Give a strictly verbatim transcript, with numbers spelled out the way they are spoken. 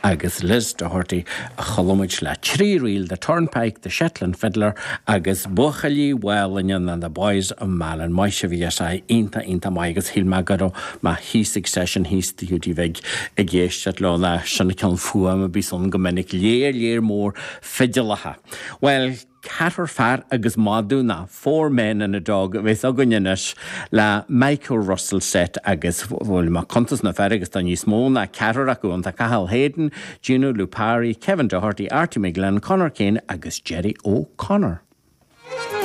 agus Liz Doherty a chuala muid le trí ríl The Turnpike, The Shetland Fiddler agus Buachaillí Mhálainne and the Boys of Malin. Maith sibh bhí sé iontach iontach maith agus shíl mé go raibh mé thíos ag session thíos the Hiúdaí Bhig ag éisteacht leo na sin ceann fuaim a bhí ann go minic léir léir mór fidilacha. Well, ceathrar fear agus madadh ná Four Men and a Dog a bheas againn anois le Michael Russell Set agus bhfuil má cuntas na fear agus tá níos mó ná ceathrar acu an tá Cathal Hayden, Gino Lupari, Kevin Doherty, Artie McGlynn, Conor Kane agus Jerry O'Connor.